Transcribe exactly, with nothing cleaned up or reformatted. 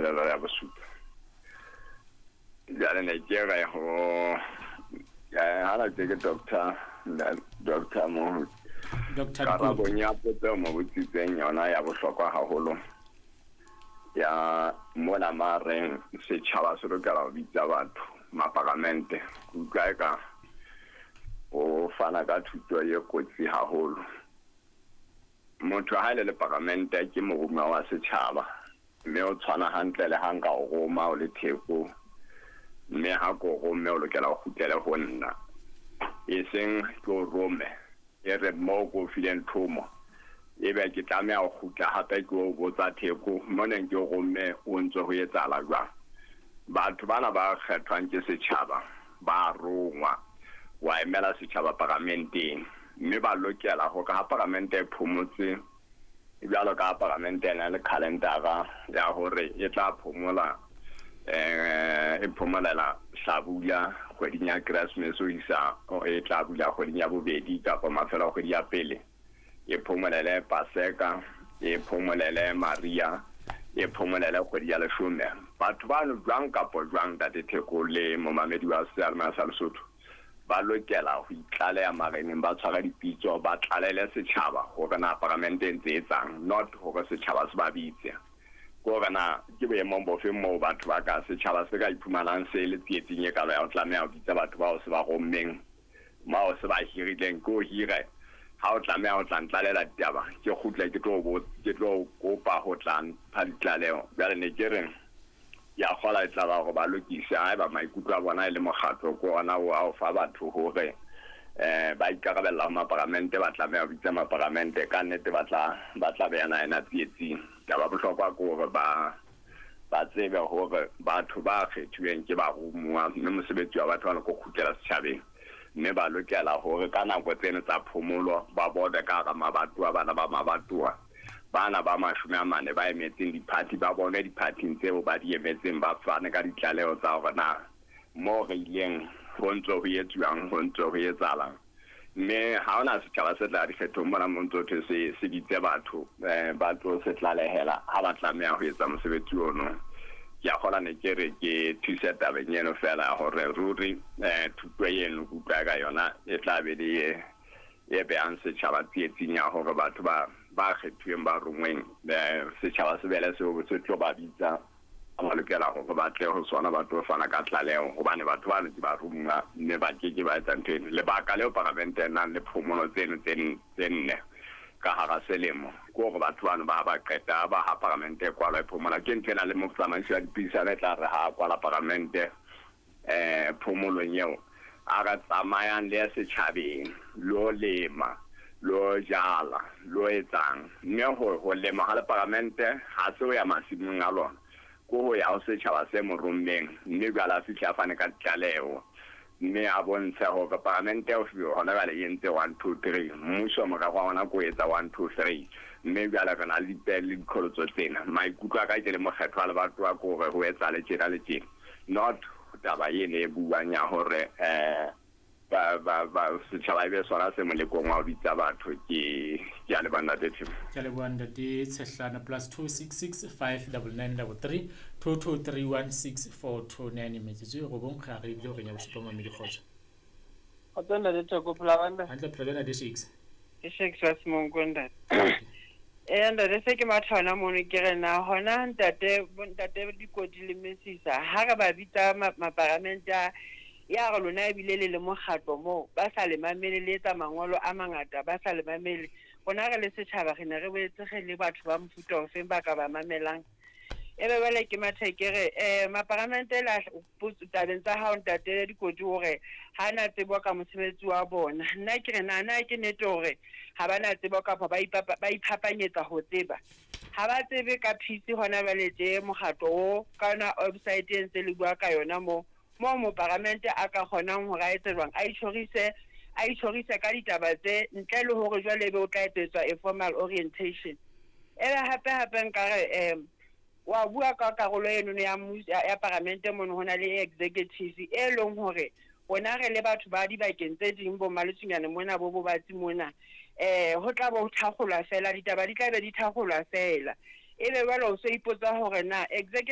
tshelela ya bosupa. Jwale ne ke re ho ya ha ke ke doctor doctor mo Doctor Karabong ya potso mo botsitseng yona ya bohlokwa haholo. Ya mona mareng setjhaba se lokela ho bitsa batho maparamente. Utlwa eka o fana ka thuto e kotsi haholo. Motho ha ile le paramente ke morumuwa wa setjhaba, mme o tshwana hantle le ha nka o roma o le Theko, mme ha ko romme o lokela ho kgutlele ho nna, e seng ke o rome e re mo ko fileng thomo ebe ke tlameha ho kgutla hape ke o botsa Theko mo neng ke o romme o ntse ho etsahala jwang. Batho bana ba kgethwang ke setjhaba ba rongwa wa emela setjhaba paramenteng, mme ba lokela hore ha paramente e phomotse jwalo ka paramente e na le calendara ya hore e tla phomola eh e phomolela hlabula kgweding ya Christmas ho isa e tla bula kgweding ya bobedi kapa mafelo a kgwedi ya pele, e phomolele Paseka, e phomolele Maria, e phomolele kgwedi ya leshome. Batho bano jwang kapa jwang ntate Theko le momamedi wa seyalemoya sa Lesotho ba lokela ho itlaleha mareneng, ba tshwara dipitso, ba tlalele setjhaba hore na paramente e ntse etsang, not hore setjhaba se ba bitse. Ke hore na ke boemong bofe moo batho ba ka setjhaba se ka iphumanang se le tsietsing e kalo ya ho tlameha ho bitsa batho bao se ba rommeng, bao se ba hirileng. Ke o hire ha o tlameha ho tla ntlalela ditaba, ke kgutle ke tlo ke tlo kopa ho tla mpha ditlaleho. Jwale ne ke re ya kgola e tla ba hore ba lokise haeba maikutlo a bona e le mokgatlo ke ona o a o fa batho hore eh ba ikarabella ho maparamente, ba tlameha ho bitsa maparamente ka nnete, ba tla ba tla beana ena tsietsing. Taba bohlokwa ke hore ba ba tsebe hore batho ba kgethuweng ke barumuwa, mme mosebetsi wa batho ba ko kgutlela setjhabeng, mme ba lokela hore ka nako tseno tsa phomolo ba bone ka hara mabatowa, bana ba mabatowa bana ba mashome a mane ba emetseng diphathi, ba bone diphathing tseo ba di emetseng, ba fane ka ditlaleho tsa hore na mo re ileng ho ntso ho etsuwang, ho ntso ho etsahalang. Mme ha hona setjhaba se tla dikgethong mona mo ntso thwe se se bitse batho eh ba tlo se tlalehela ha ba tlameha ho etsa mosebetsi ono. Ke a kgola ne ke re ke thuse tabeng eno fela hore ruri eh thuto eno ke utlwa ka yona e tla be le e behang setjhaba tsietsing ya hore batho ba ba kgethuweng ba rongweng setjhaba se bele seo se tlo ba bitsa ba lokela hore ba tle ho sona, ba tlo fana ka tlaleho hobane batho bano ke ba rongwa mme ba ke ke ba etsa ntho eno. Lebaka leo paramente e nang le phomolo tseno tse nne ka hara selemo ke hore batho bano ba ba qeta ba ha paramente e kwalwa e phomola. Ke ntho ena le motsamaisi wa dipuisano e tla re ha kwala paramente eh phomolong eo a re tsamayang le ya setjhabeng lo lema lo jala lo etsang, mme ho ho lema ha le paramente ha se ho ya masimong a lona, ko ho ya ho setjhaba se mo rommeng, mme jwale a fihle a fane ka ditlaleho mme a bontshe hore paramente o hona jwale e entse one two three, mmuso morero wa ona ko etsa one two three, mme jwale re na le dipele le diqholotso tsena. Maikutlo a ka ke le mokgetho wa lebatowa ke hore ho etsahale tjena le tjena, not taba eno e buang ya hore eh ba ba ba setjhaba ebe sona se molekong wa ho bitsa batho. Ke ke a leboha ntate Theko. Ke a leboha ntate Tshehlana. Plus two six six five double nine double three two two three one six four two nine. Metsotso e robong re a re ebile horeng ya bosupa mamedi kgotso. Kgotso ntate Theko, phela hantle? Hantle, phela jwang ntate Shakes? Ke Shakes wa Semonko ntate. Eh ntate, se ke matha hona mono ke re na hona ntate ntate Dikoti le Mesisa ha re ba bitsa maparamente a ya re lona ebile le le mokgatlo moo ba sa le mamele, le etsa mangolo a mangata ba sa le mamele. Rona re le setjhaba re ne re boetse re le batho ba mofuta ofeng ba ka ba mamelang. Ebe jwale ke mathe ke re eh maparamente la tabeng tsa hao ntate Dikoti hore ha na tsebo ka mosebetsi wa bona. Nna ke re na na ke nnete hore ha ba na tsebo kapa ba ba iphapanyetsa ho tseba. Ha ba tsebe ka peace hona jwale tje mokgatlo o ka yona website e ntse le bua ka yona moo mo moparamente a ka kgonang hore a etse jwang, a itjhorise a itjhorise ka ditaba tse ntle le hore jwale ebe o tla etsetswa a formal orientation. Ebe hape hape nka re eh wa bua ka karolo eno ya ya paramente mono hona le executive e leng hore rona re le batho ba dibakeng tse ding bo Maletsunyane mona bo bo batsi mona eh ho tla bo thakgolwa fela, ditaba di tla be di thakgolwa fela. Ebe jwale o so ipotsa hore na executive